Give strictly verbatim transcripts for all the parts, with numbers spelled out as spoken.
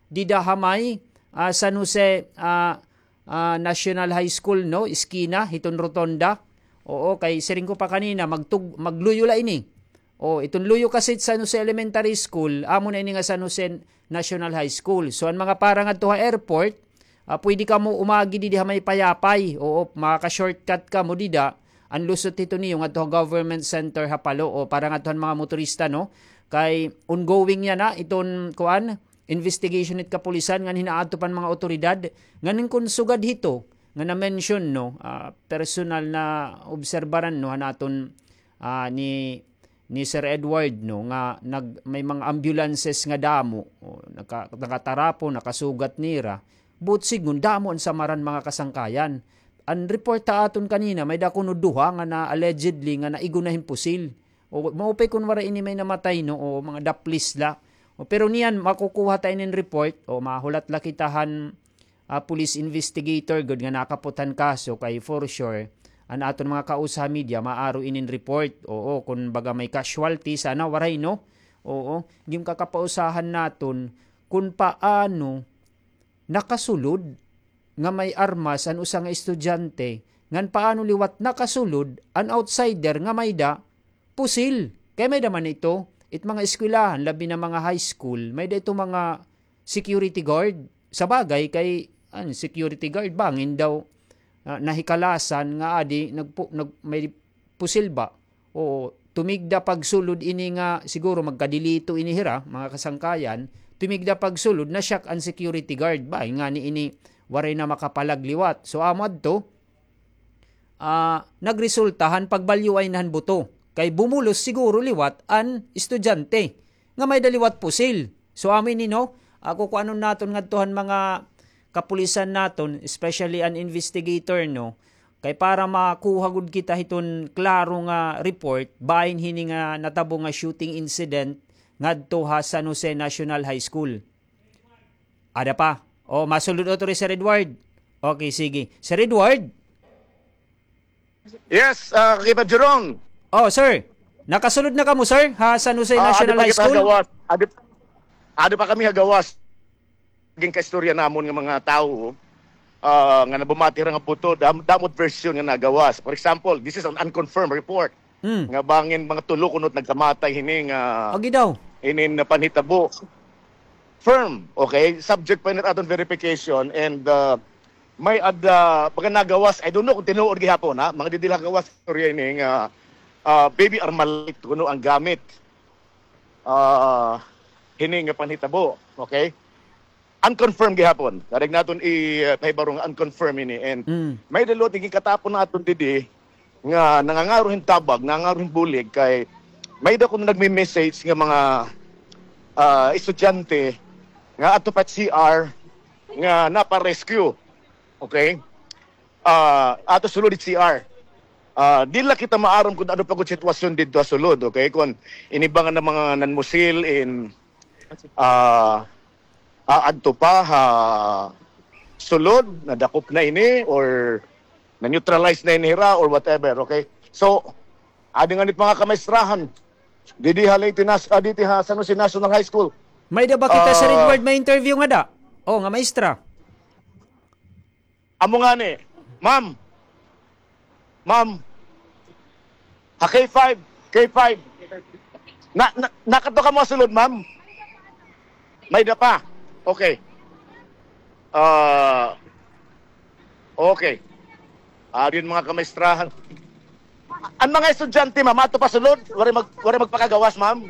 dida ha may, ah, San Jose, ah, ah, National High School, no? Eskina hiton rotonda. Oo, kay siring ko pa kanina, magtug-, magluyo la ini. O, iton luyo kasi San Jose Elementary School, amo na ini nga San Jose National High School. So, an mga para ngadto ha airport, ah, pwede kamo umagi didi ha may Payapay. Oo, makaka-shortcut kamo dida. An lusot hito niyo ngadto ha Government Center ha Palo. O, para ngadto han mga motorista, no? Kay ongoing yana iton, kuan, investigation hit kapulisan ngan hinaadto pa han mga awtoridad. Ngan kon sugad hito nga na-mention, no, ah, personal na obserbaran, no, han aton, ah, ni ni Sir Edward, no, nga nag-, may mga ambulances nga damo, o, naka-, nakatarapon, nakasugat nira. But sidngon, damo an samaran, mga kasangkayan. An report ha aton kanina, may-ada kuno duha nga na allegedly nga naigo na hin pusil. O, maupay kon waray ini may namatay, no, o mga daplis la. O, pero niyan, makukuha ta inin report, o, mahulat la kita han ah, police investigator gud nga nakaputhan kaso kay for sure, an aton mga kausa ha media, maaro inin report. Oo, kun baga may casualty, sana waray, no? Oo, gin kakapausahan naton kun paano nakasulod nga may armas an usa nga estudyante, ngan paano liwat nakasulod an outsider nga may-da pusil. Kay may-da man ito, it mga eskwelahan, labi na mga high school, may-da ito mga security guard. Sa bagay, kay, an security guard, bangin daw, ah, nahikalasan nga adi, nagpu-, nag-, may pusil ba? O, tumigda pagsulod ini nga, siguro magkadilito ini hira, mga kasangkayan, tumigda pagsulod, na-shock an security guard. Ba, ngani ini, waray na makapalag liwat. So, amo adto, ah, nagresulta han pagbalyuay na han buto. Kay bumulos siguro liwat an estudyante nga may-da liwat pusil. So, amo ini, no? Ah, kukuanon naton ngadto han mga kapulisan naton, especially an investigator, no? Kay para makuha gud kita hiton klaro nga report, bahin hini nga natabo nga shooting incident ngadto ha San Jose National High School. Ada pa. O, masulod utro hi Sir Edward. Okay, sige. Sir Edward? Yes, ah, Kakipad Jerome. O, sir. Nakasulod na kamo, sir, ha San Jose National High School? Ah, adi pa kita ha gawas. Adi, adi pa kami ha gawas. Ginkaistorya namon nga mga tawo, ah, nga nabumati hira nga buto, dam-, damo it version nga nagawas. For example, this is an unconfirmed report. Hmm. Nga bangin mga tulo kuno it nagkamatay hini nga, agi daw, hini nga panhitabo. Firm, okay? Subject pa ini ha aton verification and, uh, may-ada, baga nagawas, I don't know kung tinuod gihapon, ha? Mga didi la gawas, istorya ini nga, uh, baby Armalite kuno an gamit. Uh, hini nga panhitabo, okay? Unconfirmed gihapon. Karuyag naton i-, uh, pahibaro nga unconfirmed ini. And may-ada liwat ginkatabang naton didi nga nangangaro hin tabag, nangangaro hin bulig kay may-ada kuno nagme-message nga mga, ah, estudyante nga adto pa it C R nga napa-rescue. Okay? Ah, adto sulod it C R. Ah, di la kita maaram kon ano pa gud sitwasyon didto ha sulod, okay? Kon ini ba nga mga nanmusil in, ah, aadto pa ha sulod, nadakop na ini or na-neutralize na ini hira or whatever, okay? So, adi ngani it mga kamaestrahan didi ha Leyte Nas-, ah, didi ha San Jose National High School. May-ada ba kita, Sir Edward, may interview ngada? O, nga maestra. Amo ngani, ma'am. Ma'am. Ha K five, K five. Na, na, nakadto kamo ha sulod, ma'am? May-ada pa. Okay. Ah, okay. Adi an mga kamaestrahan. An mga estudyante, ma'am, adto pa sulod, waray mag-, waray magpakagawas, ma'am.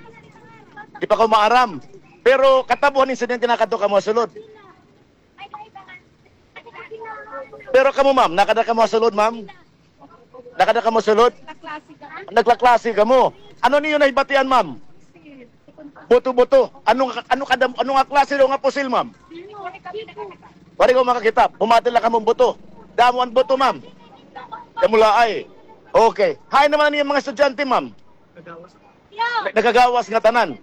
Di pa ko maaram. Pero katabo han insidente nakadto kamo ha sulod. Pero kamo, ma'am, nakada kamo ha sulod, ma'am? Nakada kamo ha sulod? Naglaklase kamo. Ano niyo nahibatian, ma'am? Buto-buto. Ano, ano kada, ano nga klase daw nga pusil, ma'am? Waray ko makakita. Bumati la kamo hin buto. Damo an buto, ma'am. Kamo la ay. Okay. Hain naman an iyo mga estudyante, ma'am? Nagagawas ngatanan.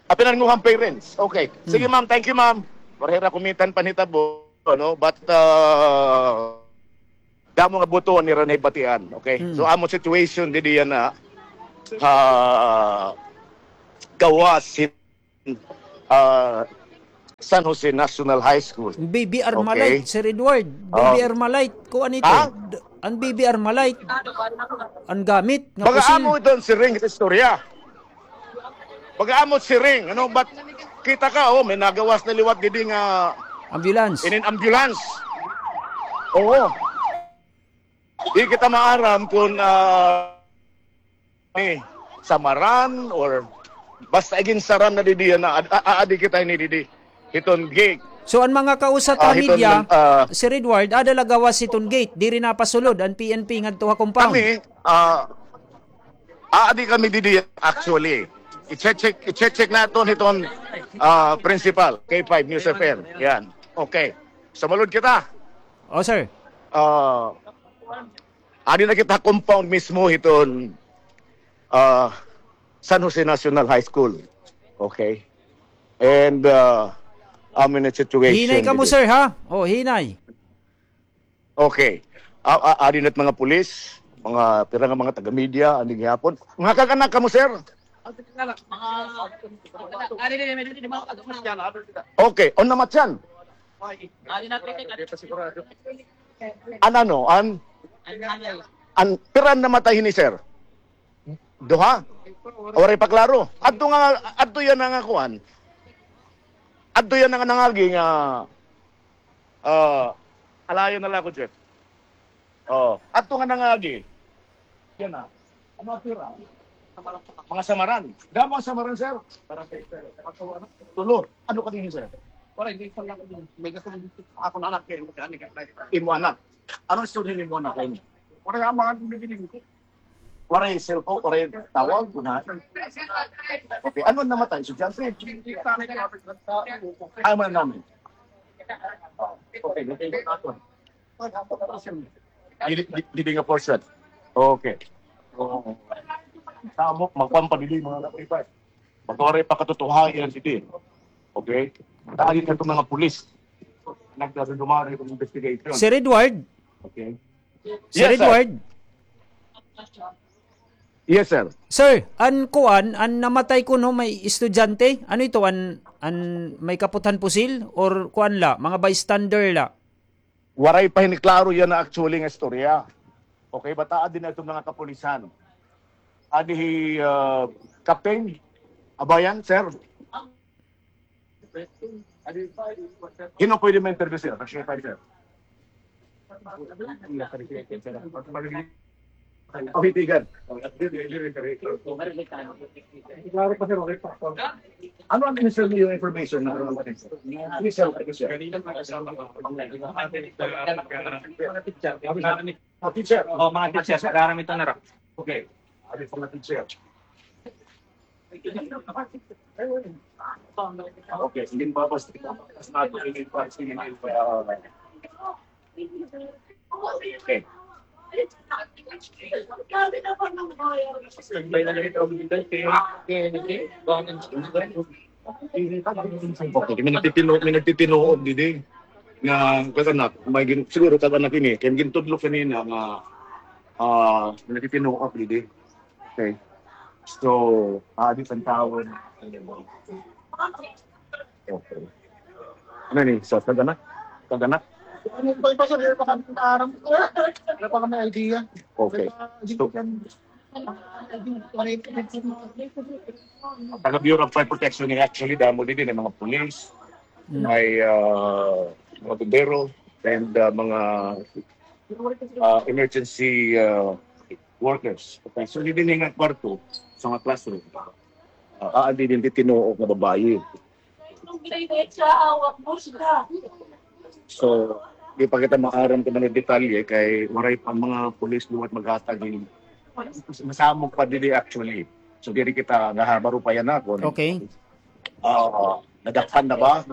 Apil an ngatanan parents. Okay. Sige, ma'am. Thank you, ma'am. Waray hira kumita han panhitabo, no? But, uh, damo nga buto an ira nahibatian. Okay? So, amo situation didi yana, ah, gawas hin, ah, San Jose National High School. B B R Malite, Sir Edward. B B R Malite, kuan ito. Ha? An B B R Malite, an gamit nga pusil. Baga amo iton siring it istorya. Baga amo siring, ano, but kita ka, oh, may nagawas na liwat didi nga ambulance. Inin ambulance. Oo. Di kita maaram kon, ah, ni samaran or basta iginsaran na didi yana, ad-, a-, a-, adi kita ini didi. Hiton gate. So, an mga kausa ta media, Sir Edward, ada la gawas hiton gate, diri napasulod an P N P ngadto ha compound. Kami, ah, aadi kami didi actually. I-check, i-check naton hiton, ah, principal, K five News F M. Yan. Okay. Sumalod kita. Oh, sir. Ah, Adi na kita compound mismo hiton, ah, San Jose National High School. Okay. And, ah, amo na situation. Hinay kamo, sir, ha? Oh, hinay. Okay. A-, a-, adi na it mga pulis, mga pira nga mga taga-media, ani gihapon. Mga kag-anak kamo, sir? Okay, on namatyan. An ano, an, an, pira an namatay hini, sir? Duha? Waray pa klaro. Adto nga, adto yana nga kuan. Adto yana nga nangagi nga, ah, alayon na la ako, Jeff. Oh, adto nga nangagi. Yana. Ano, pira? Mga samaran. Damo an samaran, sir. Tulo. Ano ka dinhi, sir? Wala, hindi pa lang. May gusto mong ako na anak, eh, imo anak. Ano istorya nimo anak? Wala, ang mga bibili ko. Waray cellphone, waray tawag, kuna. Okay, ano namatay? Estudyante? Ay, man namin. Okay, okay. Dili, di, dili nga portion. Okay. Oo. Tamo, magpampadili, mga kapipas. Magkawaray pa katotohanan didi. Okay? Dahil ito mga pulis, nagdadumari ng investigation. Sir Edward? Okay. Sir Edward? Yes, sir. Sir, an kuan, an namatay kuno may estudyante? Ano ito? An, an may kaputhan pusil? Or kuan la, mga bystander la? Waray pa hini klaro yana actually nga istorya. Okay, bata, adi na iton mga kapulisan. Adi hi, ah, Captain Abayan, sir. Hin-o pwede ma-interview, sir? Sir. Oh, hitigan. Klaro pa, sir, okay pa. Ano an initial niyo information na ano naman, sir? Initial, ano, sir? Mga teacher. Oh, teacher. Oh, mga teacher. Pag-aram ito na ra. Okay. Ano pa mga teacher? Okay, sige, babas. Mas nato ini pa, sige, pa. Okay. Okay, may nagtitino-, may nagtitinuod didi. Nga, kag-anak, may gin-, siguro kag-anak ini, kay gintudlo kanina nga, ah, may nagtitinuod didi. Okay. So, ah, di pantawon. Okay. Ano ni? So, kag-anak? Kag-anak? Ano pa, pa, sir, pa kami naaram. Wala pa kami idea. Okay. So, taga Bureau of Fire Protection ni actually, damo didi nga mga police, may, ah, mga bombero, and, ah, mga, ah, emergency, ah, workers. Okay, so didi nga kwarto, sa mga classroom. Ah, ah, didi tinuok nga babayi. So, di pa kita maaram kon ano detalye kay waray pa mga pulis liwat maghatag hin masamok pa didi actually. So, diri kita nahibaro pa yana kon, okay, ah, nadakpan na ba,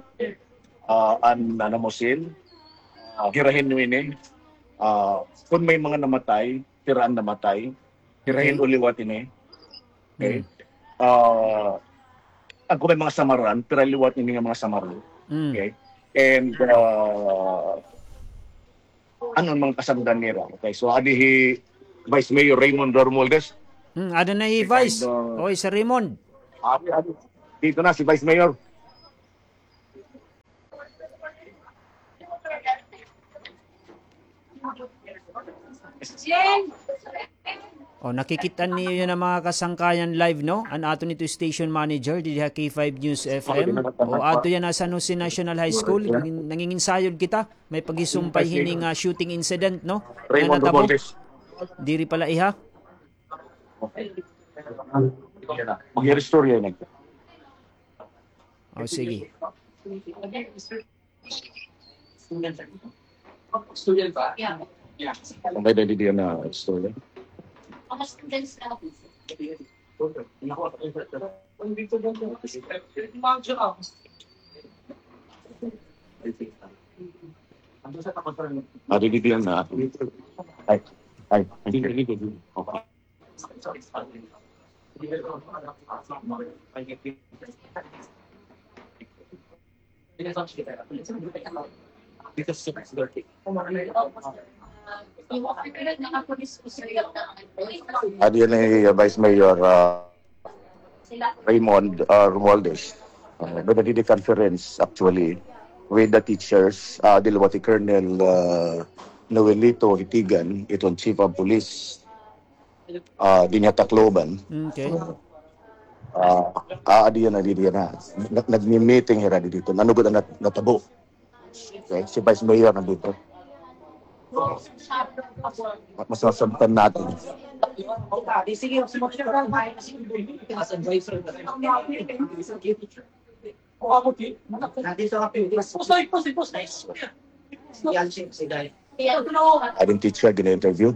ah, an, ano mo, sin, ah, hira hin ini, ah, kon may mga namatay, pira an namatay, pira hin liwat ini. Okay? Ah, kon may mga samaran, pira liwat ini nga mga samaran. Okay? And, ah, ano an mga kasangdan nira? Okay, so adi hi Vice Mayor Raymond Romualdez. Hmm, ada na hi Vice. Oy, Sir Raymond. Adi, adi. Dito na si Vice Mayor. O, nakikita niyo yana, mga kasangkayan, live, no? An aton ito station manager didi ha K five News F M. O, adto yana ha San Jose National High School. Nangin-, nanginginsayod kita. May paghisumpay hini nga shooting incident, no? Nga natabo. Diri pala iha. Mag-istorya na. O, sige. May dali diyan na istorya. Adi diyan na. Ay, ay, ay. Adi ni, uh, Vice Mayor, uh, Raymond, uh, Romualdez. Uh, nagadi conference actually with the teachers, uh, Dilwati Colonel, uh, Noelito Hitigan, iton Chief of Police. Ah, dinhi ha Tacloban. Okay. Ah, ah, diyan na, diyan na. Nag-, nagmi-meeting hira didto. Nanugod an nat-, natabo. Okay, si Vice Mayor nandito. Ma-, masasampan natin. Ading teacher gina-interview.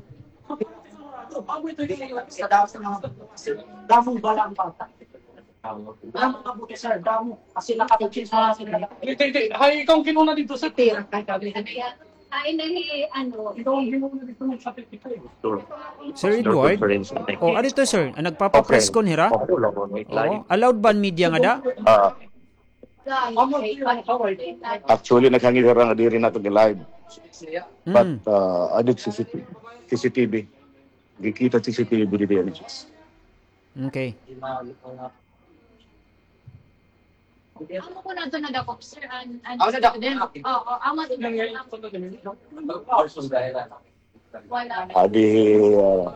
Hay, ikaw an kinuna didto, sir. Ay, nahi, ano, ikaw an kinuna didto. Sir Edward? O, ano ito, sir? An nagpapa-press con hira? Oo. Allowed ba an media ngada? Ah. Actually, naghangyo hira nga diri naton i-live. But, uh, adi C C T V. C C T V. Gikita C C T V didi. Okay. Amo ko na ito nadakop, sir. An, an student. Oo, amo ito. Adi, uh,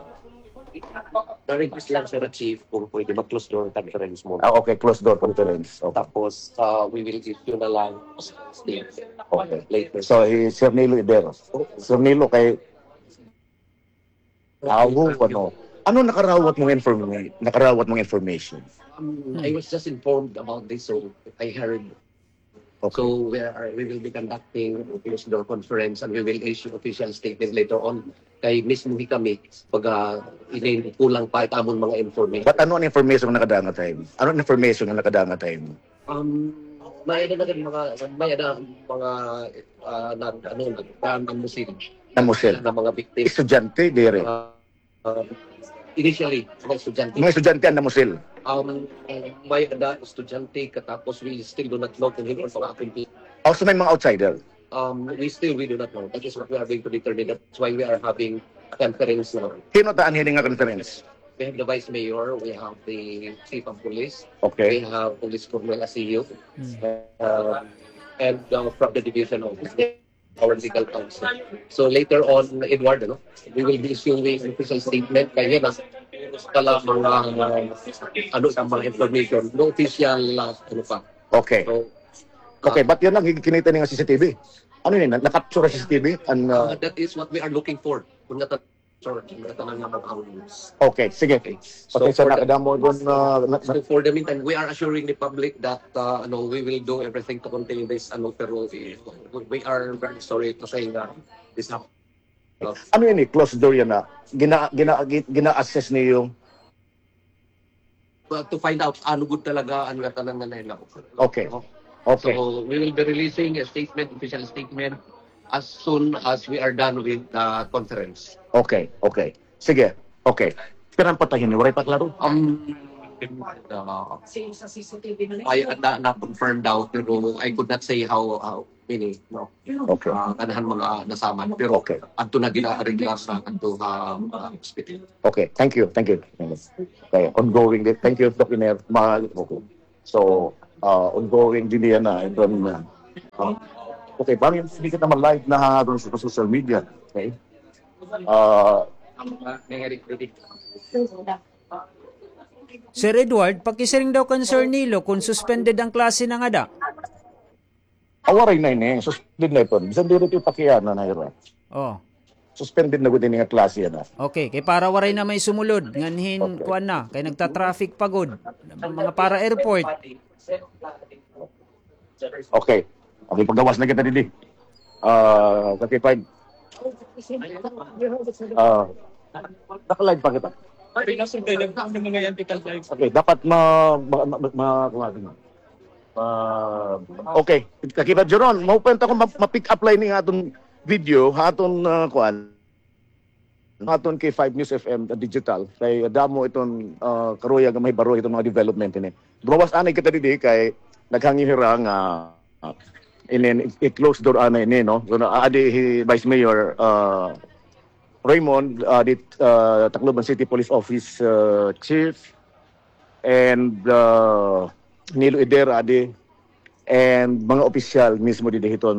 the request lang, sir, chief, kung pwede mag-close door conference muna. Ah, okay, close door conference. Okay. Tapos, uh, we will issue na lang statement. Okay. Later. So, hi Sir Nilo Ibero. Sir Nilo, kay Awo, ano? Ano nakarawat mong informa-, nakarawat mong information? Um, I was just informed about this, so I heard. Okay. So we are, we will be conducting a closed door conference and we will issue official statement later on. Kay mismo hi kami, pag, ah, inin-, kulang pa it amon mga information. But ano an information nga nakadangag ha imo? Ano an information nga nakadangag ha imo? Um, may-ada na gad mga, may-ada mga, ah, nag-, ano, nag-, ah, namusil. Namusil. Na mga victim. Estudyante, diri? Ah, ah, initially, mga estudyante. Mga estudyante an namusil? Um, may-ada estudyante, katapos we still do not know kung hin-o an mga akumpi. Also, may mga outsider? Um, we still, we do not know. That is what we are going to determine. That's why we are having a conference now. Hin-o ta anhi hini nga conference? We have the vice mayor, we have the chief of police, okay, we have Police Colonel Asiyo, uh, and, uh, from the division of our legal counsel. So later on, Edward, ano, we will be issuing official statement kay yana, kala mga, uh, ano, sa mga information, no official, uh, ano pa. Okay. So, okay, uh, but yana, kinita ni nga C C T V. Ano ini? Na-, na-capture sa C C T V? And, uh, uh, that is what we are looking for. Kung nata-, Sir, tanan nga mag-hours. Okay, sige. Okay. So, pasensya na kadamo dun, uh, na, na, so for the meantime, we are assuring the public that, uh, ano, we will do everything to contain this, ano, pero, eh, we, we are very sorry to say that this happened. Ano ini? Closed door yana? Gina-, gina-, gi-, gina-assess niyo? Well, to find out ano gud talaga an ngatanan nga nahilaw. Okay. Okay. So, we will be releasing a statement, official statement, as soon as we are done with the conference. Okay, okay. Sige. Okay. Pira an patay hini? Waray pa klaro? Um, uh, ay, na, na-confirm daw, pero I could not say how, how many, no? Okay. Ah, ganahan mga nasaman. Pero okay. Adto na gina-arreglar sa adto, ah, ah, hospital. Okay, thank you, thank you. Okay, ongoing din. Thank you, Doc Iner. Ma-, okay. So, ah, ongoing din yana, and then, ah, okay, bangin, hindi kita ma-live na ha, doon sa social media. Okay? Ah, ang mga nangyari dito. Sir Edward, pakisiring daw kan Sir Nilo kung suspended an klase na ngada. Ah, waray na ini. Suspended na iton. Bisan diri ito ipakiana na ira. Oh. Suspended na gud ini nga klase yana. Okay, kay para waray na may sumulod nganhin kuan na, kay nagta-traffic pa gud. Mga para airport. Okay. Okay, paggawas na kita didi. Ah, thirty-five. Ah, naka-live pa kita. Okay, dapat ma, ma, ma, ma, ma, ma, okay. Kakita, Jeron, mao pa ako ma-, ma-pick up line ni aton video, aton, ah, kuan. Aton kay five News F M, uh, digital, kay damo iton, ah, karuyag nga mahibaro iton mga development ini. Gumawas anay kita didi kay naghangyo hira nga, ah, inin i-, i-close door anay ini, no? So, na, adi hi Vice Mayor, ah, Raymond, ah, di, ah, Tacloban City Police Office, ah, Chief, and, ah, Nilo Eder, adi, and mga opisyal mismo didi hiton,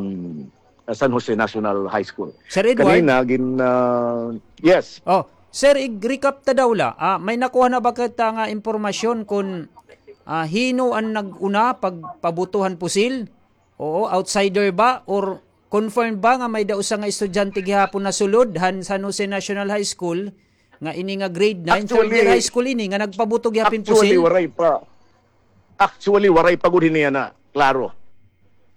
ah, San Jose National High School. Sir Edward? Kanina, gin-, ah, yes. Oh, sir, ig-recap ta daw la. Ah, may nakuha na ba kita nga impormasyon kun, ah, hin-o an nag-una pagpabuto han pusil? Oo, outsider ba? Or confirmed ba nga may-ada usa nga estudyante gihapon nasulod han San Jose National High School nga ini nga grade nine, third year high school ini nga nagpabuto gihapon hin pusil? Actually, waray pa. Actually, waray pa gud hini yana. Klaro.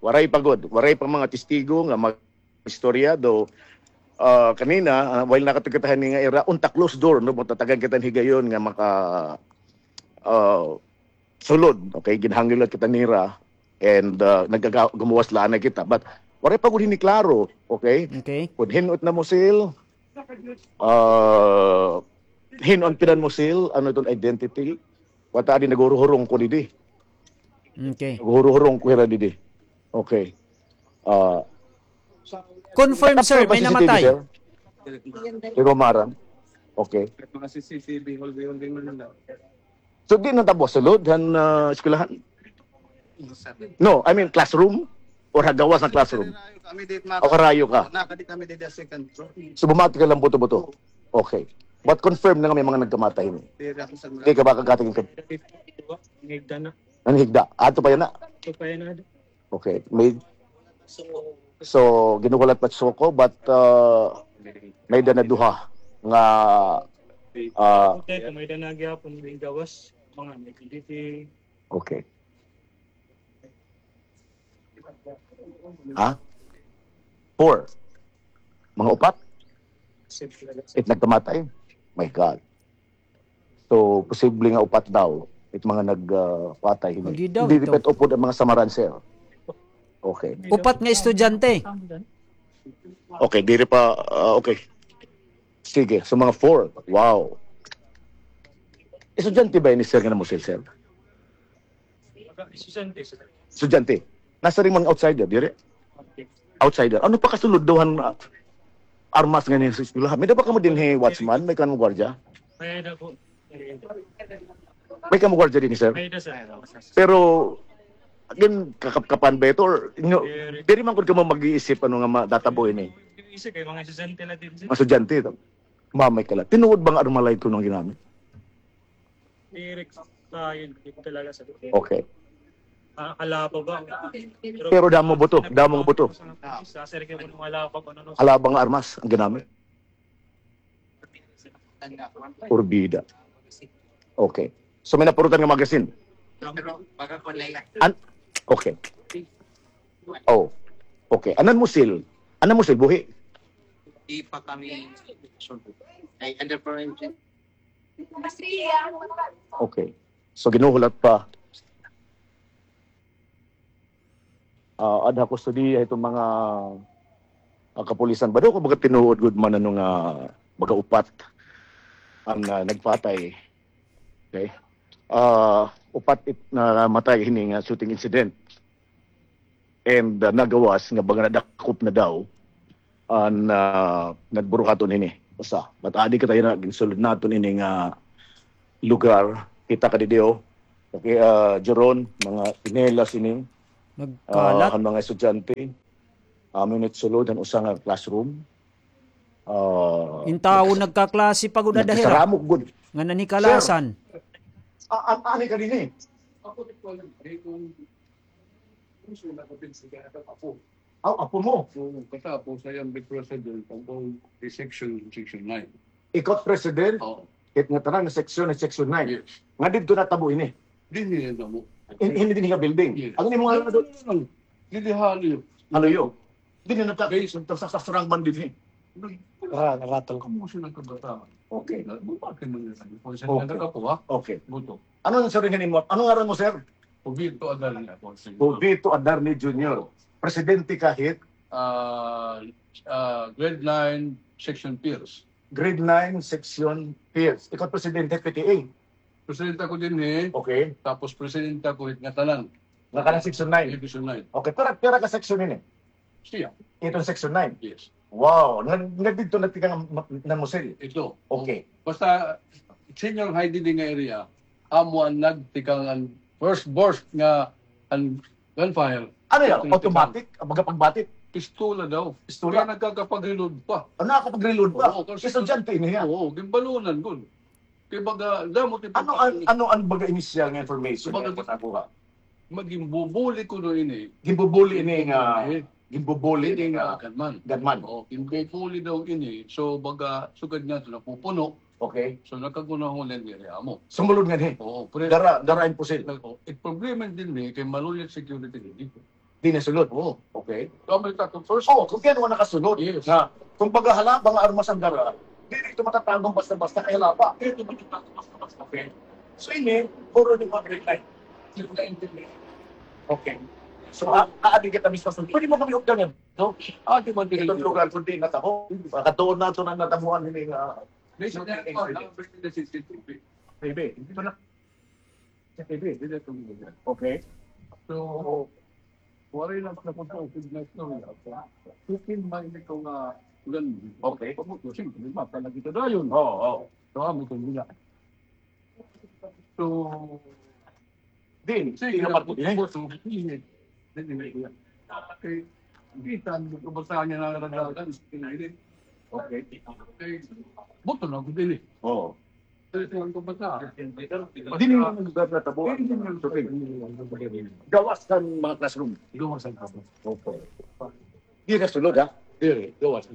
Waray pa gud. Waray pa mga testigo nga mag-istorya. Though, ah, kanina, ah, while nakatutok kita hini nga ira, unta closed door, no? Magtatagan kita hin higayon nga maka, ah, sulod, okay? Ginhangyo la kita nira, and, ah, nagaga-, gumuwas la anay kita. But, waray pa gud hini klaro, okay? Okay. Kun hin-o it namusil, ah, hin-o an pinanmusil, ano iton identity? Wata adi, naghuruhurong ko didi. Okay. Naghuruhurong ko hira didi. Okay. Ah, confirm, sir, may namatay. Pero marang. Okay. Mga C C T V, hallway, hallway man lang. So, di na tabo sulod han, ah, eskwelahan? No, I mean classroom? Or ha gawas han classroom? Kami di ma-, o karayo ka? Nakadi kami di second floor. So, bumati ka lang buto-buto? Okay. But confirm na nga may mga nagkamatay ini? Di ra ako sa mga. Di ka ba kagatag ka? Nanghigda na. Nanghigda. Ato pa yana? Ato pa yana. Okay. May, so, ginuhulat pa suko, but, uh, may-ada na duha nga, uh, okay, may-ada na gihapon nga gawas, mga nagdiditi. Okay. Ha? Four. Mga upat? It nagkamatay? My God. So, posible nga upat daw it mga nag, ah, patay hini. Hindi daw, hindi ito. Depende upod an mga samaran, sir. Okay. Upat nga estudyante. Okay, diri pa, ah, okay. Sige, so mga four. Wow. Estudyante ba ini, sir, nga namusil, sir? Estudyante, sir. Estudyante. Nasiring man outsider, diri? Outsider. Ano pa kasulod daw han, ah, armas nganhi ha eskwelahan? May-ada ba kamo dinhi watchman? May kamo gwardiya? May-ada po. May kamo gwardiya dinhi, sir? May-ada, sir. Pero, again, kakapkapan ba ito? Or, inyo, diri man gud kamo mag-iisip ano nga matatabo ini? Isip kay mga estudyante la dinhi, sir. Mga estudyante ito. Mamay ka la. Tinuod ba nga arma la ito nga ginamit? Direct sa yun, yun talaga sa. Okay. Ah, halaba ba? Pero damo buto, damo nga buto. Sa, sa, sa, halaba nga armas an ginamit. Porbida. Okay. So, may napurutan nga magazine? An-, okay. Oh. Okay. An nanmusil? An nanmusil, buhi? Di pa kami sure. Ay, under forensic. Okay. So, ginuhulat pa. Ah, adha kustodiya iton mga, ah, kapulisan. Bado ko baga tinuod gud man ano nga baga upat an, ah, nagpatay. Okay? Ah, upat it namatay hini nga shooting incident. And, ah, nagawas nga baga nadakop na daw an, ah, nagburuhaton hini. Usa. But adi kita yana, ginsulod naton ini nga lugar. Kita ka didi, oh. Okay, ah, Jeron, mga tsinelas ini. Nagkalat. Ah, han mga estudyante. Amo ini it sulod han usa nga classroom. Ah, in tawo nagkaklase pa gud ada hira. Nagkasaramok gud. Nga nanhikalasan. Sir. Ah, an-, ani ka dinhi? Ako di ko alam, eh, kung gusto na kapit sa kaya apo. Aw, apo mo? Oo, katapos I am the president of all the section, section nine. Ikaw president? Oo. Hit ngatanan nga section, section nine. Yes. Nga didto natabo ini? Dinhi natabo. In, ini dinhi nga building? Yes. An imo ngaran? No, no, no, no. Dinhi ha Haloyo. Haloyo. Dinhi nagka-, sa, sa, sa Surangban dinhi. Ah, naratol ko. Kumusta ang kabataan? Okay. Na, bakit mo yun? Kung sa nagkakapo, ha? Okay. Buto. Ano ang sabihin mo? Ano ngaran mo, sir? Jovito Adarne ako, sir. Jovito Adarne Junior. Presidente ka hit? Ah, ah, grade nine, section P I R S. Grade nine, section P I R S. Ikaw presidente P T A? Presidente ako dinhi. Okay. Tapos presidente ako hit ngatanan. Ngatanan section nine? Section nine. Okay, pira, pira ka section ini? Siya. Iton section nine? Yes. Wow, nga, nga didto nagtikang an, an musil? Ito. Okay. Basta, senior high dinhi nga area, amo an nagtikang an first burst nga an gunfire. Ano yan? Automatic? Baga pagbatik? Pistola daw. Pistola? Kaya nagkakapag-reload pa. Ah, nakakapag-reload pa? Oo, kasi estudyante ini niya. Oo, ginbalunan gud. Kay baga, damo ti ano an, ano an baga inisyal nga information nga nakuha? Maging bubuli kuno ini. Ginbubuli ini nga, ginbubuli ini nga gunman. Gunman. Oo, ginbubuli daw ini. So, baga, sugad nga ito, napupuno. Okay. So, nagkagunahon ini amo. Sumulod nga ni? Oo, pre. Dara, dara in pusil. Oo, it problema dinhi, kay maluya security dinhi. Di nasulod? Oo. Okay. So, may tattoo first. Oo, kung kaya naman nakasulod. Yes. Na, kung baga halaba nga armas an dara, di dito matatago basta-basta kay halaba. Di dito matatago basta-basta. Okay. So, ini, puro di mga green light. Okay. So, a-, aadi kita mismo. Pwede mo kami updan yan. No? Ah, di man dito. Itong lugar kundi natabo. Makatuon na ito na natabuan ini nga. May siya na ito, ah, may siya na C C T V. Baby, hindi pa na. Okay. So, waray lang sa pagkausig na istorya. Kung may ikaw nga ulan, okay. Pagkausig, di ba? Talaga kita dayon. Oo, oo. So, amo ito nila. So, din, sige, sige, sige. Sige, sige. Bisan, basahan niya na nagdalagan, sige, sige. Okay. Okay. Buto na ako din eh. Oo. Ito ang pabasa. Dili man lugar natabo. Dili man lugar. Gawas kan mga classroom. Gawas an classroom. Opo. Di nasulod, ha? Diri, gawas.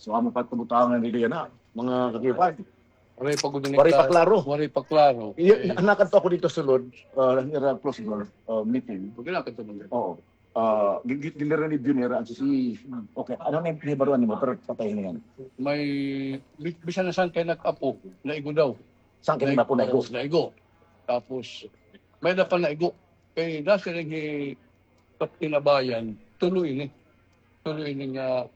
So, amo pa it kabutangan diri yana, mga kakipay. Waray pa gud ini. Waray pa klaro. Waray pa klaro. Iya, nakadto ako didto sulod, ah, ira closed door, ah, meeting. Pag nakadto man. Oo. Ah, gi-, gi-, ginira ni Junera ang susi. Okay, ano na it nahibaroan nimo? Pero patay na yan. May, bi-, bisan na saan kay nag-apo, naigo daw. Saan kay nag-apo, naigo? Naigo. Tapos, may na pa naigo. Kay nasiring hi Captain Abayan, tulo ini. Tulo ini nga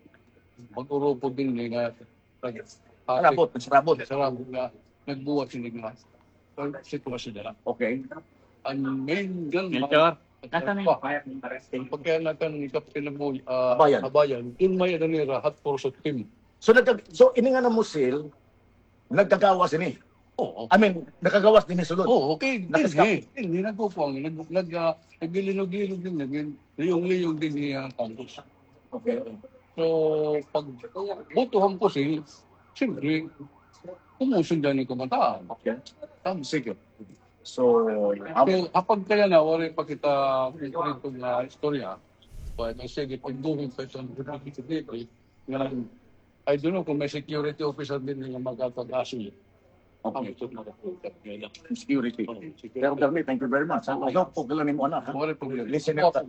mag-urupod dinhi nga nag-, sarabot, sarabot. Sarabot nga nagbuhat sini nga sitwasyon nila. Okay. An main gunman, pagkaya nakan ni Captain Aboy-, ah, Abayan. Abayan, in may ano nira, hot pursuit team. So, nagka-, so, ini nga na musil, nagkagawas ini? Oo. I mean, nakagawas dinhi sulod? Oo, okay. Nakaskap? Dinhi, dinhi, nagkukuan, nag-, nag-, ah, naglilog-lilog dinhi, nag-, liyong-liyong dinhi an campus. Okay. So, pag buto han pusil, siyempre, kumusundan ni kabataan. Okay. Tama. Sige. So, so, kapag kaya na, waray pa kita konkreto nga istorya, but sige, pagduhin pa ito, nga, I don't know kung may security officer din nga magkakagasi. Okay. Security. Oo, security. Pero, Bernie, thank you very much. Ano po, kilala mo, anak, ha? Waray problema. Listener ka.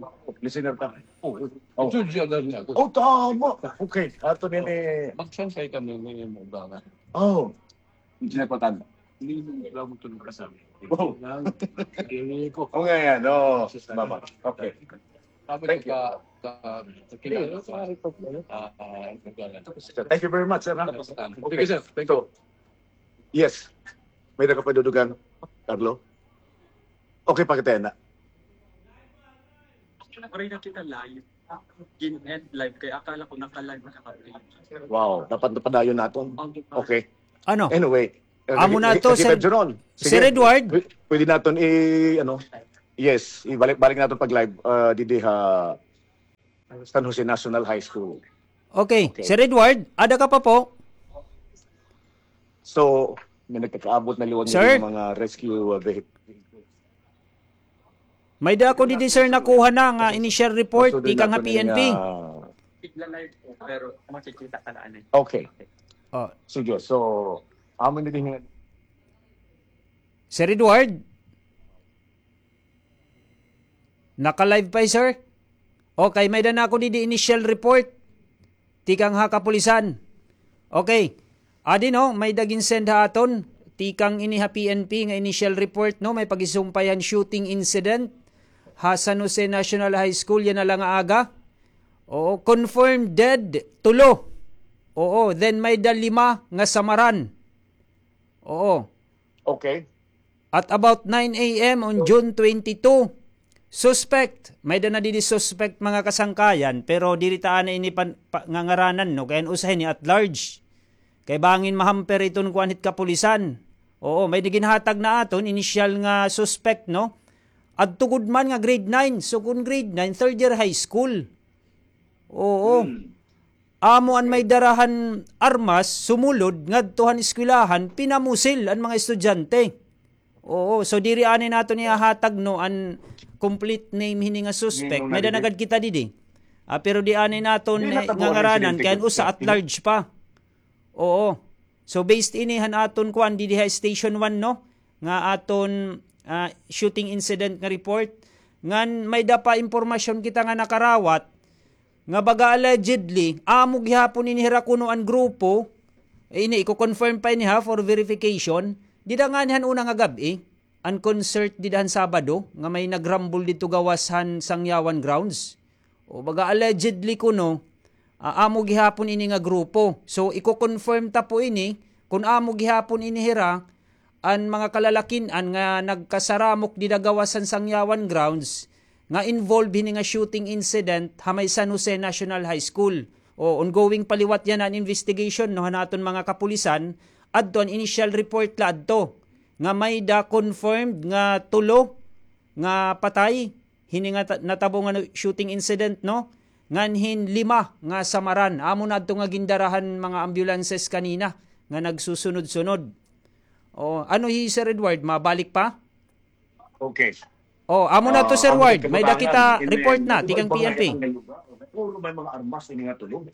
Listener ka. Oo. Oh. Judge Adarne ako. Oh, tama. Okay. Ato din eh. Magsaysay kami ni Mugana. Oh. Engineer Patan. Hindi mo alam ito ng kasama. Oh. Hindi ko. Okay, yan. Oh, mama. Okay. Thank you. Ka, ka, kakilala ko. Ah, ah, Mugana. Thank you very much, sir, ha? Thank you, sir. Thank you. Yes. May nakapadudugan, Carlo? Okay, pakita na. Waray na kita live. Gin-end live kay akala ko naka-live na kami. Wow, dapat napadayon naton. Okay. Ano? Anyway, amo na to, Sir Edward. Pwede naton i, ano, yes, ibalik-balik naton pag-live, ah, didi ha San Jose National High School. Okay. Okay. Sir Edward, ada ka pa po? So, may nagkakaabot na liwat Sir? Ng mga rescue, uh, vehicle. May da ako didi, sir, nakuha na nga initial report tikang ha P N P. Tigla live po, pero makikita ka na, ano. Okay. Oh. So, Diyos, so, amo na din nga Sir Edward? Naka-live pa, eh, sir? Okay, may da na ako didi initial report tikang ha kapulisan. Okay. Adi, no, may da gin-send ha aton tikang ini ha P N P nga initial report, no, may pagisumpay han shooting incident ha San Jose National High School yana la nga aga. Oo, confirmed dead, tulo. Oo, then may da lima nga samaran. Oo. Okay. At about nine A M on June twenty-two, suspect, may da na didi suspect, mga kasangkayan, pero diri ta anay ini pan-, pa-, ngangaranan, no? Kay an usa hini at large. Kay bangin mahamper iton kuan hit kapulisan. Oo, may da ginhatag na aton, initial nga suspect, no? Adto gud man nga grade nine. So, kun grade nine, third year high school. Oo. Hmm. Amo an may dara han armas, sumulod ngadto han eskwelahan, pinamusil an mga estudyante. Oo, so diri anay naton ihahatag, no, an complete name hini nga suspect. May da na gad kita didi. Ah, pero di anay naton ngangaranan, kay an usa at large pa. Oo. So, based ini han aton kuan didi ha Station one, no, nga aton, ah, shooting incident nga report, ngan may da pa impormasyon kita nga nakarawat, nga baga allegedly, amo gihapon ini hira kuno an grupo, eh, ini, iko-confirm pa ini ha, for verification, dida ngani han una nga gab-i, an concert dida han Sabado, nga may nagrambol didto gawas han Sangyawan grounds. O baga allegedly kuno, ah, amo gihapon ini nga grupo. So, iko-confirm ta po ini, kun amo gihapon ini hira, an mga kalalakin-an nga nagkasaramok dida gawas han Sangyawan grounds, nga involved hini nga shooting incident ha may San Jose National High School. O, ongoing pa liwat yana an investigation, no, han aton mga kapulisan, adto an initial report la adto, nga may da confirmed nga tulo nga patay, hini nga ta-, natabo nga shooting incident, no? Ngan hin lima nga samaran. Amo na adto nga gindara han mga ambulances kanina nga nagsusunod-sunod. O, ano hi Sir Edward, mabalik pa? Okay. O, amo na to, Sir Ward. May da kita report na tikang P N P. Puro may mga armas ini nga tulo.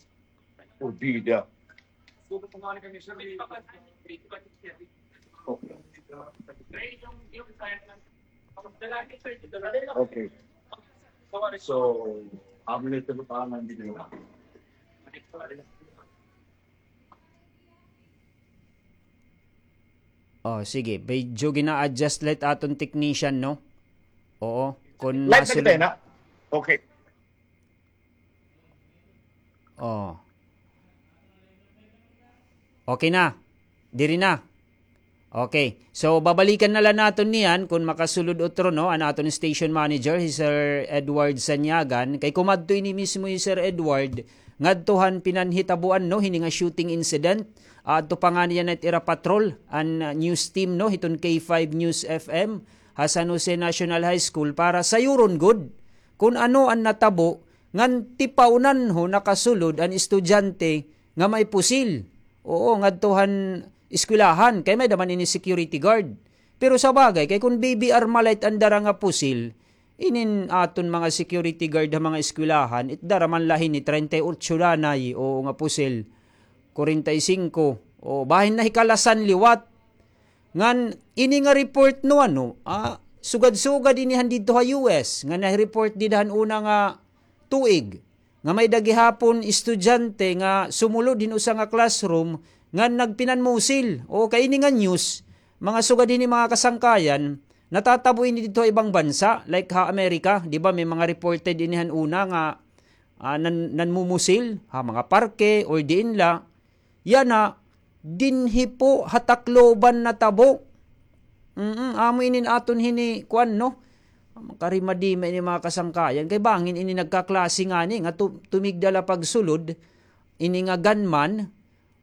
O, bida. Okay. Okay. So, amo na ito pa nga dito. O, sige. Medyo gina-adjust la it aton technician, no? Oo. Kun live na kita, na? Okay. O. Okay na. Diri na. Okay. So, babalikan na la naton niyan kun makasulod utro, no, an aton station manager, hi Sir Edward Sanyagan. Kay kumadto ini mismo hi Sir Edward ngadto han pinanhitaboan, no, hini nga shooting incident. Adto pa ngani yana it ira patrol, an, uh, news team, no, hiton K five News F M ha San Jose National High School para sayuron gud kun ano an natabo ngan tipawnan ho nakasulod an estudyante nga may pusil. Oo, ngadto han eskwelahan, kay may da man ini security guard. Pero sa bagay, kay kun B B R Malay it an dara nga pusil, inin aton mga security guard ha mga eskwelahan, it dara man la hini treinta y ocho danay, oo, nga pusil, kwarenta y singko, o bahin na hikalasan liwat. Ngan ini nga report, no, ano, ah, sugad-sugad ini han didto ha U S, nga na-report dida han una nga tuig, nga may da gihapon estudyante nga sumulod hin usa nga classroom ngan nagpinanmusil. O, kay ini nga news, mga sugad hini, mga kasangkayan, natatabo ini didto ha ibang bansa, like ha Amerika, di ba, may mga reported ini han una nga, ah, nan-, nanmumusil ha mga parke or diin la. Yana, dinhi po ha Tacloban natabo. Mm, amo inin aton hini, kuan, no? Makarimadi man ini, mga kasangkayan. Kay bangin ini nagkaklase ngani nga tu-, tumigda la pagsulod, ini nga gunman,